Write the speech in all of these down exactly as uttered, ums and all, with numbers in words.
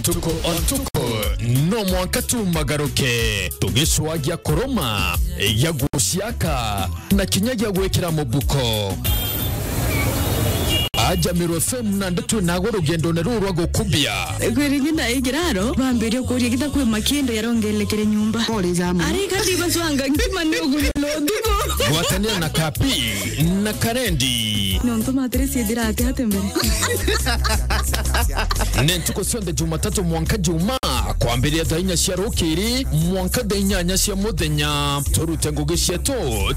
Ntuku o ntuku, no mwanka tumagaruke, tugicwagia kuruma, ya guciaka, na kinya gia gwikira mubuko. Aja Meru F M na ndeto nago rugendone ruru rwa gukubia. Kwiri nyina igiraro, bambirie kuria gita kwi makindo yarongelekere nyumba. Pole jama. Ari kandi bacwanga ngima ni ugunyana utuku. Gwatanira na Kapi na Karendi. Nontu matire ciithira ati ati mbere. Ni ntuku cionthe Jumatatu mwanka Juma, kwambiria thaa inya cia rukiri mwanka thaa inyanya cia muthenya. Turute ngugi cietu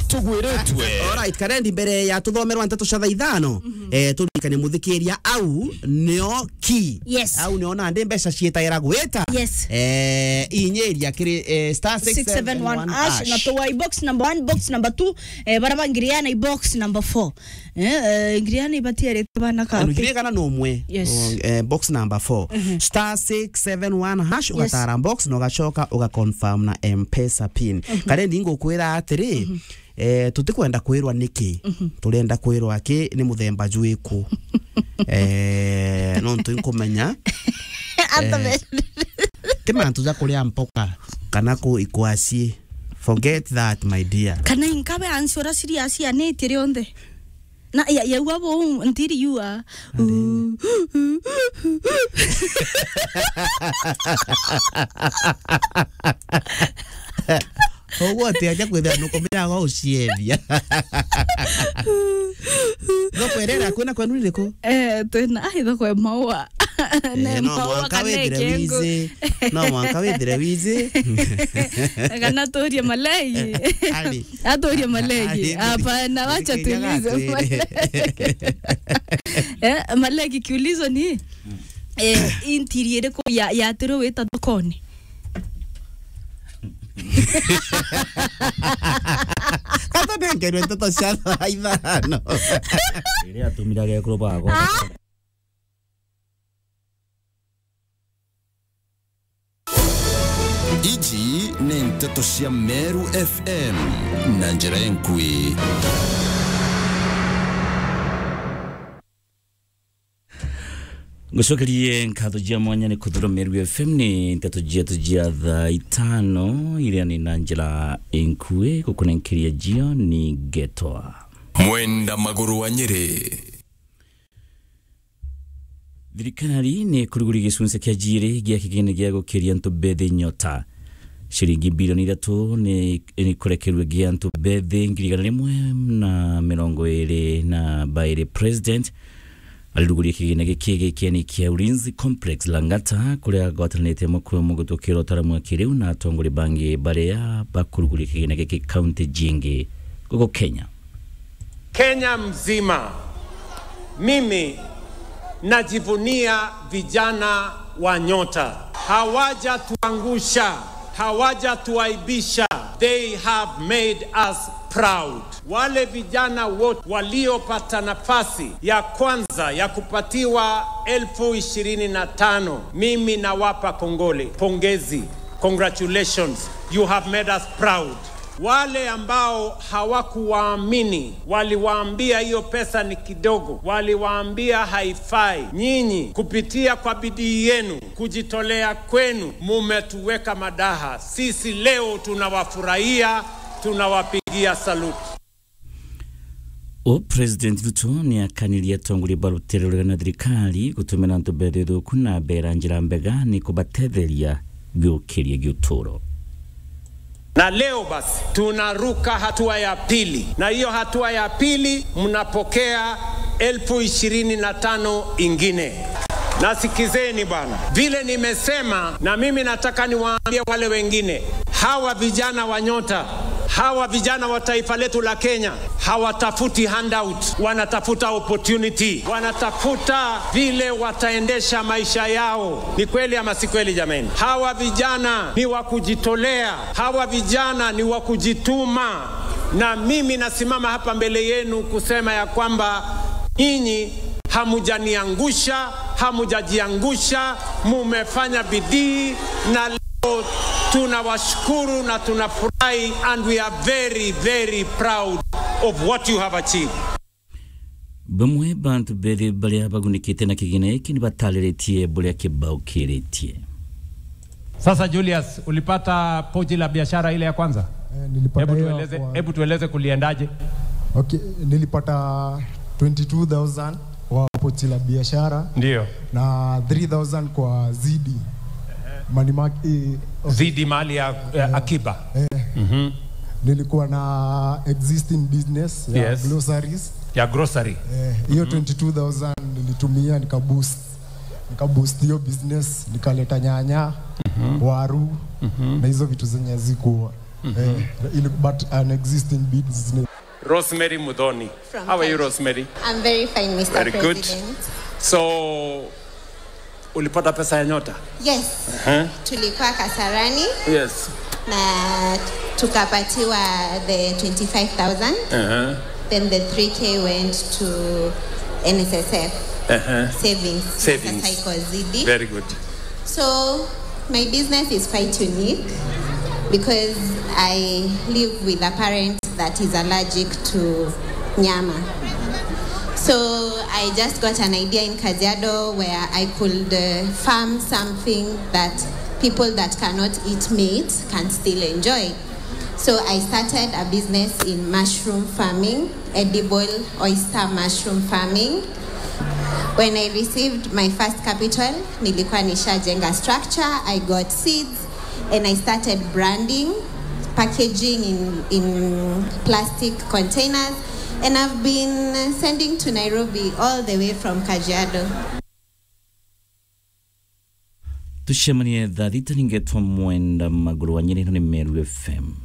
tugwiritwe. Alright, Karendi, mbere ya tuthomerwa nteto cia thaa ithano, eh, turirikane muthikiria, au nio ki. Yes. Au nio nandi mbeca cietagira gwita. Yes. Eh, inyiria kiri, eh, star six seven one hash, na tuwa i box number one, box number two, eh, bara bangiriana i box number four. Eh, eh, ngiriana ibatiarite bana ka. Ngiriana kana no umwe. Yes. Oh, eh, box number four. Star six seven one hash, ugatara box na ugacoka ugaconfirm na M-Pesa pin. Karendi, ngukwira atiri, eh, tutikwenda kwirwa niki. Turenda kwirwa ki ni muthemba jwiku. Eh, nontu nkumenya. Ata eh, be- ti mantu ja kuria mpoka kana ku ikwasi. Forget that, my dear. Kana inkabe ansi ura serious ya niti rionthe. Na ya, ya ua bo ntiri yua. Uguo ati aja kwithira nukumira go uciethia. Thoko iria iraku na kwenu ni iriku? Eh, twina, ai, thoko ya maua. Eh, no mwanka withire wizi. No mwanka withire wizi. Kana turie malegi. Ari. Aturie malegi. Ari, hapana, wacha tulize. Eh, malegi kiulizo ni, eh, intiri iriku ya, ya tiro wita thokoni? Kata nengerwe nteto cia thaa ithano. Iria atumire agekuru bakwa. Iji ni nteto cia Meru F M na njira enkui. Ngucokerie nkatho cia mwanya ni kuthura Meru F M ni nteto cietu cia thaa itano iria ni na njira inkui gukunenkeria jio ni ngetwa Mwenda Maguru wa Nyeri. Thirikari ni kuruguri gicunci kia jiri gia kigina gia gukiria antu mbethi nyota. Ciringi bilioni ithatu ni, ni kurekerua gia antu mbethi ngiri igana rimwe na mirongo iri na bairi. President ariruguria kigina giki gikiani kia Ulinzi Complex Lang'ata, kuria agwatanirite mukuru mugutukiro utaramwe kiriu na atongori bangi baria bakuruguria kigina giki kaunti jingi guku Kenya. Kenya mzima, mimi najivunia vijana wa Nyota. Hawajatuangusha, hawajatuaibisha. They have made us proud. Wale vijana wote waliopata nafasi ya kwanza ya kupatiwa elfu ishirini na tano, mimi nawapa kongole, pongezi, congratulations, you have made us proud. Wale ambao hawakuwaamini, waliwaambia hiyo pesa ni kidogo, waliwaambia haifai. Nyinyi, kupitia kwa bidii yenu, kujitolea kwenu, mumetuweka madaha. Sisi leo tunawafurahia, tunawapigia salute. O President Ruto ni akanirie atongoria ba rutere rurega na thirikari gutumira antu mbethi thuku na mbera njira mbega ni kubatetheria giukiria giuturo. Na leo basi tunaruka hatua ya pili, na hiyo hatua ya pili mnapokea elfu ishirini na tano ingine. Na sikizeni bwana, vile nimesema, na mimi nataka niwaambie wale wengine, hawa vijana wa Nyota, hawa vijana wa taifa letu la Kenya, hawatafuti handout, wanatafuta opportunity, wanatafuta vile wataendesha maisha yao. Ni kweli ama si kweli, jameni? Hawa vijana ni wa kujitolea, hawa vijana ni wa kujituma, na mimi nasimama hapa mbele yenu kusema ya kwamba nyinyi hamujaniangusha, hamujajiangusha, mumefanya bidii, na leo tunawashukuru na tunafurahi, and we are very, very proud of what you have achieved. Bamwe bantu bethi baria bagunikite na kigina giki ni batariritie buria kibaukiritie. Sasa Julius, ulipata pochi la biashara ile ya kwanza? Eh, nilipata Hebu hiyo tueleze, kwa hebu tueleze kuliendaje? Okay, nilipata twenty-two thousand kwa pochi la biashara. Ndio. Na three thousand kwa zidi. Money market, eh, Zidi mali ya, ya akiba. Eh. Mhm. Nilikuwa na existing business ya Yes. groceries. Ya grocery. Eh, hiyo twenty-two thousand nilitumia nikaboost. Nikaboost hiyo business, nikaleta nyanya, waru, na hizo vitu zenye zikuwa. Eh, ili, but an existing business. Rosemary Muthoni. From How are you, Kenya. Rosemary? I'm very fine, Mister Very good. President. So, ulipata pesa ya nyota? Yes. Uh-huh. Tulikuwa Kasarani Yes. na tukapatiwa the twenty-five thousand. Uh-huh. Then the three K went to N S S F Uh-huh. savings. Savings. Sasa iko zidi. Very good. So, my business is quite unique because I live with a parent that is allergic to nyama. So, I just got an idea in Kajiado where I could uh, farm something that people that cannot eat meat can still enjoy. So, I started a business in mushroom farming, edible oyster mushroom farming. When I received my first capital, nilikuwa nishajenga structure, I got seeds, and I started branding, packaging in, in plastic containers, and I've been sending to Nairobi all the way from Kajiado. Tucemanie thaa thita, ningetwa Mwenda Maguru wa Nyeri, ino ni Meru F M.